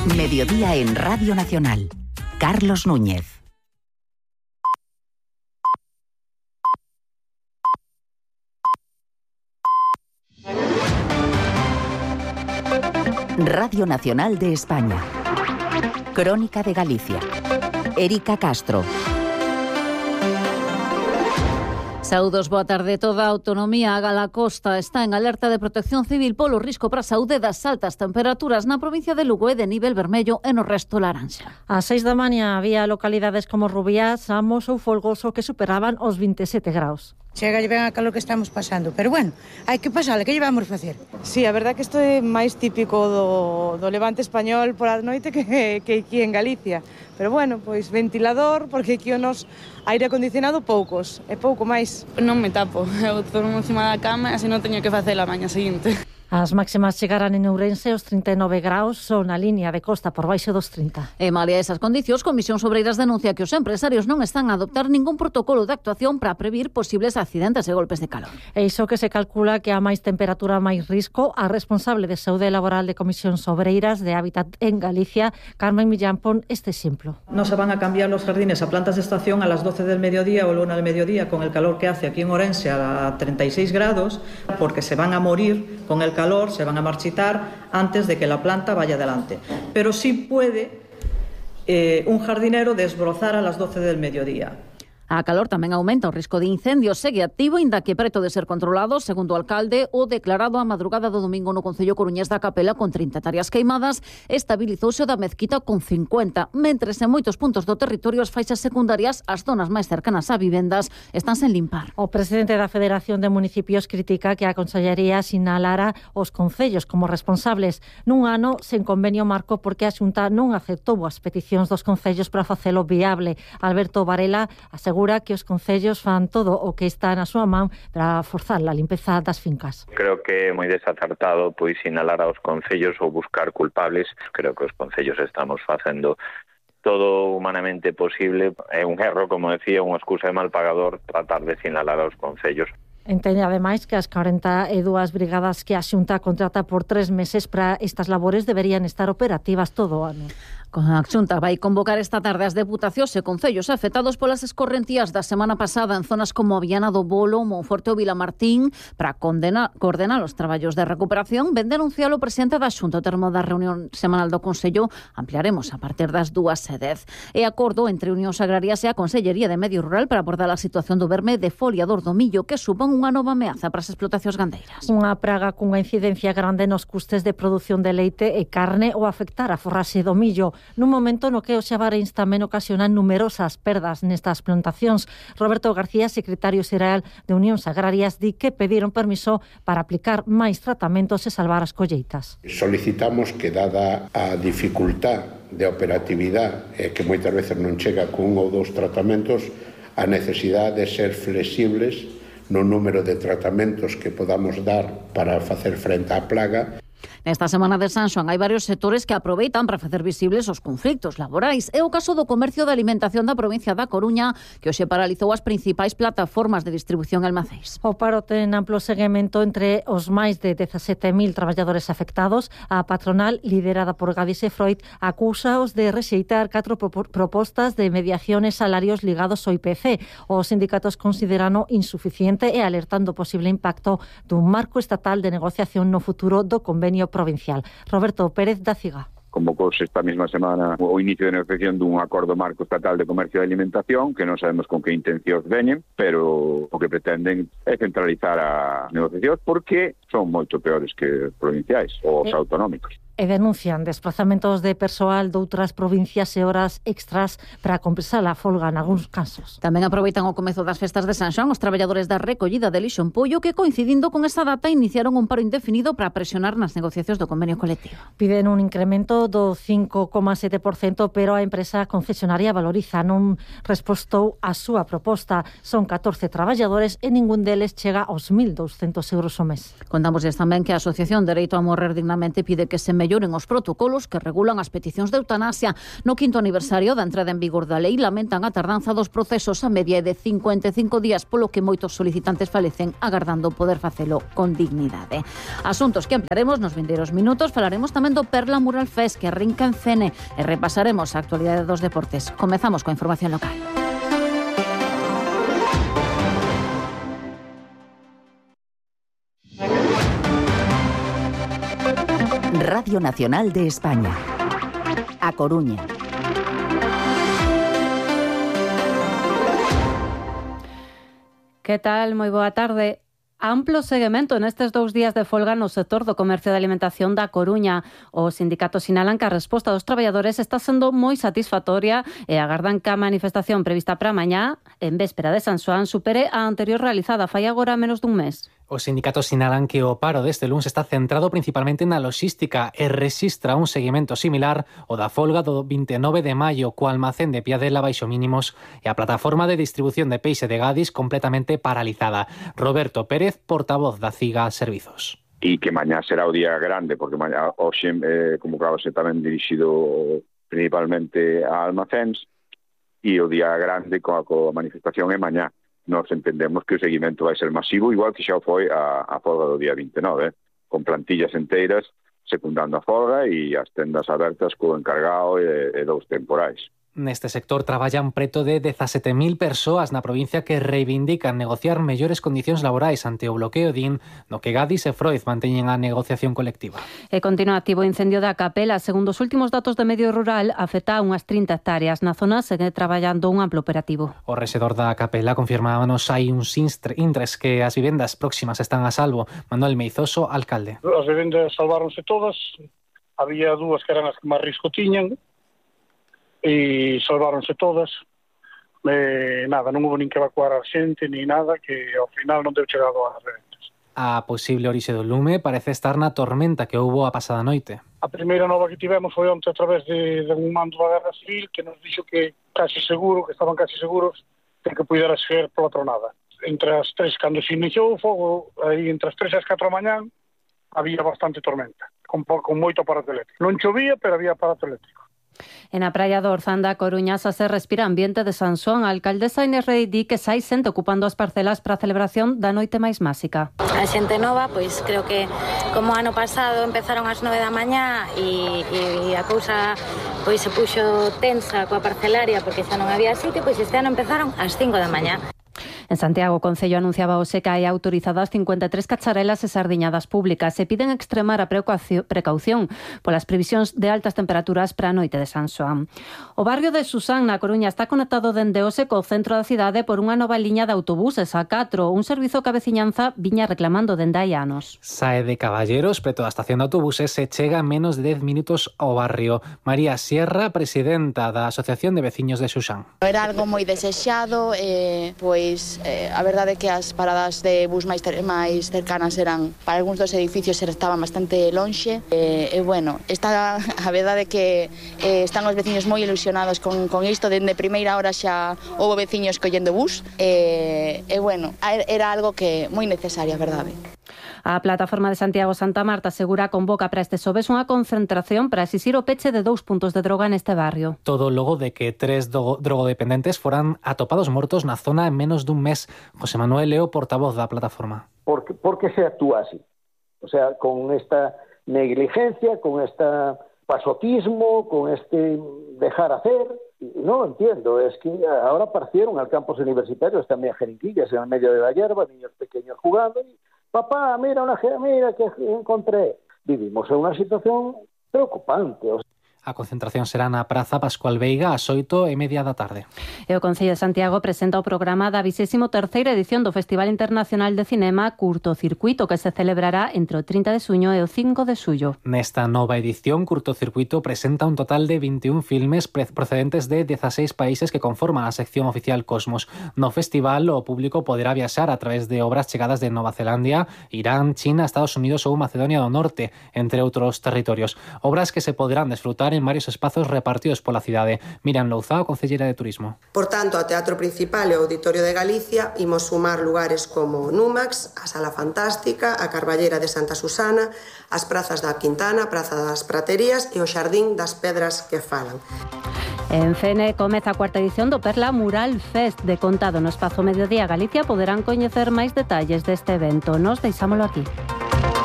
Mediodía en Radio Nacional. Carlos Núñez. Radio Nacional de España. Crónica de Galicia. Érica Castro. Saúdos, boa tarde. Toda a autonomía a Gala Costa está en alerta de protección civil polo risco para a saúde das altas temperaturas na provincia de Lugo e de nivel vermello e no resto laranxa. Ás 6 da mañá había localidades como Rubiás, Amos ou Folgoso que superaban os 27 graus. Chega ben a calor que estamos pasando, pero bueno, hai que pasarle, que llevamos a facer? Sí, a verdad que isto é máis típico do levante español por a noite que aquí en Galicia. Pero bueno, pois ventilador, porque aquí o nos aire acondicionado poucos, e pouco máis. Non me tapo, eu durmo encima da cama e así non teño que facer a maña seguinte. As máximas chegarán en Ourense os 39 graus, son a línea de costa por baixo dos 30. E malia esas condicións, Comisións Obreiras denuncia que os empresarios non están a adoptar ningún protocolo de actuación para previr posibles accidentes e golpes de calor. E iso que se calcula que a máis temperatura máis risco, a responsable de saúde laboral de Comisións Obreiras de Hábitat en Galicia, Carmen Millán, pon este exemplo. No se van a cambiar los jardines a plantas de estación a las 12 del mediodía o la 1 del mediodía con el calor que hace aquí en Ourense a 36 grados, porque se van a morir con el calor, se van a marchitar antes de que la planta vaya adelante. Pero sí puede un jardinero desbrozar a las 12 del mediodía. A calor tamén aumenta o risco de incendios, segue activo, inda que preto de ser controlado, segundo o alcalde, o declarado a madrugada do domingo no Concello Coruñés da Capela con 30 hectáreas queimadas, estabilizouse o da Mezquita con 50, mentres en moitos puntos do territorio as faixas secundarias, as zonas máis cercanas a vivendas, están sen limpar. O presidente da Federación de Municipios critica que a Consellería sinalara os concellos como responsables nun ano sen convenio marco porque a Xunta non aceptou as peticións dos concellos para facelo viable. Alberto Varela asegura que os concellos fan todo o que está na súa man para forzar a limpeza das fincas. Creo que é moi desacertado pois sinalar aos concellos ou buscar culpables. Creo que os concellos estamos facendo todo humanamente posible. É un erro, como decía, unha excusa de mal pagador tratar de sinalar aos concellos. Entende, ademais, que as 42 brigadas que a Xunta contrata por 3 meses para estas labores deberían estar operativas todo o ano. A Xunta vai convocar esta tarde as deputacións e concellos afectados polas escorrentías da semana pasada en zonas como Viana do Bolo, Monforte ou Vilamartín para coordenar os traballos de recuperación. Ben denuncialo o presidente da Xunta ao termo da reunión semanal do Consello. Ampliaremos a partir das 2:10. E acordo entre Unións Agrarias e a Consellería de Medio Rural para abordar a situación do verme defoliador do millo que supón unha nova ameaza para as explotacións gandeiras. Unha praga cunha incidencia grande nos custes de produción de leite e carne ou afectar a forraxe do millo. Nun momento no que os xabareins tamén ocasionan numerosas perdas nestas plantacións. Roberto García, secretario xeral de Unións Agrarias, di que pediron permiso para aplicar máis tratamentos e salvar as colleitas. Solicitamos que, dada a dificultad de operatividade que moitas veces non chega con 1 ou 2 tratamentos, a necesidade de ser flexibles no número de tratamentos que podamos dar para facer frente á plaga. Nesta semana de San Xoán hai varios sectores que aproveitan para facer visibles os conflitos laborais. É o caso do comercio de alimentación da provincia da Coruña, que hoxe paralizou as principais plataformas de distribución almacéns. O paro ten amplo seguimento entre os máis de 17.000 traballadores afectados. A patronal, liderada por Gadis e Freud, acúsaos de rexeitar 4 propostas de mediación e salarios ligados ao IPC. Os sindicatos considerano insuficiente e alertando o posible impacto dun marco estatal de negociación no futuro do convenio provincial. Roberto Pérez da Ciga. Convocouse esta mesma semana o inicio de negociación dun acordo marco estatal de comercio e alimentación que non sabemos con que intencións veñen, pero o que pretenden é centralizar a negociación porque son moito peores que provinciais ou os autonómicos. E denuncian desplazamentos de persoal de outras provincias e horas extras para compensar a folga en algúns casos. Tamén aproveitan o comezo das festas de San Xoán os traballadores da recollida de lixo en pollo que, coincidindo con esta data, iniciaron un paro indefinido para presionar nas negociacións do convenio colectivo. Piden un incremento do 5,7%, pero a empresa concesionaria valoriza non respostou a súa proposta. Son 14 traballadores e ningún deles chega aos 1.200 euros ao mes. Contámosles tamén que a Asociación Dereito a Morrer Dignamente pide que se melloren os protocolos que regulan as peticións de eutanasia. No 5º aniversario da entrada en vigor da lei lamentan a tardanza dos procesos, a media de 55 días, polo que moitos solicitantes falecen agardando poder facelo con dignidade. Asuntos que ampliaremos nos vindeiros minutos. Falaremos tamén do Perla Mural Fest que arrinca en Fene e repasaremos a actualidade dos deportes. Comezamos coa información local. Radio Nacional de España. A Coruña. Que tal? Moi boa tarde. Amplo seguimento nestes 2 días de folga no sector do comercio de alimentación da Coruña. Os sindicatos sinalan que a resposta dos traballadores está sendo moi satisfactoria e agardan que a manifestación prevista para mañá, en véspera de San Xoán, supere a anterior realizada fai agora menos dun mes. Os sindicatos sinalan que o paro deste luns está centrado principalmente na logística e rexistra un seguimento similar ao da folga do 29 de maio co almacén de Piadela baixo mínimos e a plataforma de distribución de peixe de Gadis completamente paralizada. Roberto Pérez, portavoz da CIGA Servizos. E que mañá será o día grande, porque mañá hoxe convocábase tamén dirixido principalmente a almacéns, e o día grande coa manifestación é mañá. Nos entendemos que o seguimento vai ser masivo, igual que xa foi a folga do día 29, con plantillas enteiras secundando a folga e as tendas abertas co encargado e dous temporais. Neste sector traballan preto de 17.000 persoas na provincia que reivindican negociar mellores condicións laborais ante o bloqueo DIN, no que Gadis e Freud manteñen a negociación colectiva. E continúa activo o incendio da Capela. Segundo os últimos datos de Medio Rural, afecta a unhas 30 hectáreas. Na zona segue traballando un amplo operativo. O rexedor da Capela confirmábanos hai uns intres que as vivendas próximas están a salvo. Manuel Meizoso, alcalde. As vivendas salváronse todas. Había 2 que eran as que máis risco tiñan, e salváronse todas. Nada, non houve nin que evacuar a xente ni nada, que ao final non deu chegado ás reventas. A posible orixe do lume parece estar na tormenta que houbo a pasada noite. A primeira nova que tivemos foi onte a través de un mando da Guerra Civil que nos dixo que estaban casi seguros de que pudera ser pola tronada. Entre as 3, cando se iniciou o fogo, aí entre as 3 e as 4 da mañán, había bastante tormenta, con moito aparato eléctrico. Non chovía, pero había aparato eléctrico. En a praia do Orzán da Coruña xa se respira ambiente de San Xoán. A alcaldesa Inés Rei di que xa hai xente ocupando as parcelas para a celebración da noite máis máxica. A xente nova, pois creo que como ano pasado empezaron ás 9 da mañá e a cousa pois se puxo tensa coa parcelaria porque xa non había sitio, pois este ano empezaron ás 5 da mañá. En Santiago, o Concello anunciaba hoxe que hai autorizadas 53 cacharelas e sardiñadas públicas e piden extremar a precaución polas previsións de altas temperaturas para a noite de San Xoán. O barrio de Susán, na Coruña, está conectado dende hoxe co centro da cidade por unha nova liña de autobuses a 4, un servizo que a veciñanza viña reclamando dende hai anos. Sae de Caballeros, preto da estación de autobuses, se chega en menos de 10 minutos ao barrio. María Sierra, presidenta da Asociación de Veciños de Susán. Era algo moi desexado, pois a verdade é que as paradas de bus máis cercanas eran, para algúns dos edificios estaban bastante lonxe, bueno, está a verdade é que están os veciños moi ilusionados con isto. Dende primeira hora xa houve veciños collendo bus, bueno, era algo que moi necesario, a verdade. A plataforma de Santiago Santa Marta asegura convoca para este xoves unha concentración para exixir o peche de 2 puntos de droga neste barrio. Todo logo de que 3 drogodependentes foran atopados mortos na zona en menos dun mes. José Manuel Leo, portavoz da plataforma. Por que se actúa así? O sea, con esta negligencia, con este pasotismo, con este dejar hacer. No lo entiendo, es que ahora aparecieron al campus universitarios también jeringuillas en el medio de la hierba, niños pequeños jugando y papá, mira que encontré. Vivimos en una situación preocupante. A concentración será na Praza Pascual Veiga ás 8:30 da tarde. E o Concello de Santiago presenta o programa da 23ª edición do Festival Internacional de Cinema Curtocircuito, que se celebrará entre o 30 de xuño e o 5 de xullo. Nesta nova edición, Curtocircuito presenta un total de 21 filmes procedentes de 16 países que conforman a sección oficial Cosmos. No festival, o público poderá viaxar a través de obras chegadas de Nova Zelandia, Irán, China, Estados Unidos ou Macedonia do Norte, entre outros territorios. Obras que se poderán desfrutar lugar en varios espazos repartidos pola cidade. Miriam Louzao, concellera de Turismo. Por tanto, ao Teatro Principal e ao Auditorio de Galicia imos sumar lugares como Numax, a Sala Fantástica, a Carballera de Santa Susana, as prazas da Quintana, a Praza das Praterías e o Xardín das Pedras que falan. En Fene comeza a cuarta edición do Perla Mural Fest. De contado no espazo Mediodía Galicia poderán coñecer máis detalles deste evento. Nos deixámolo aquí.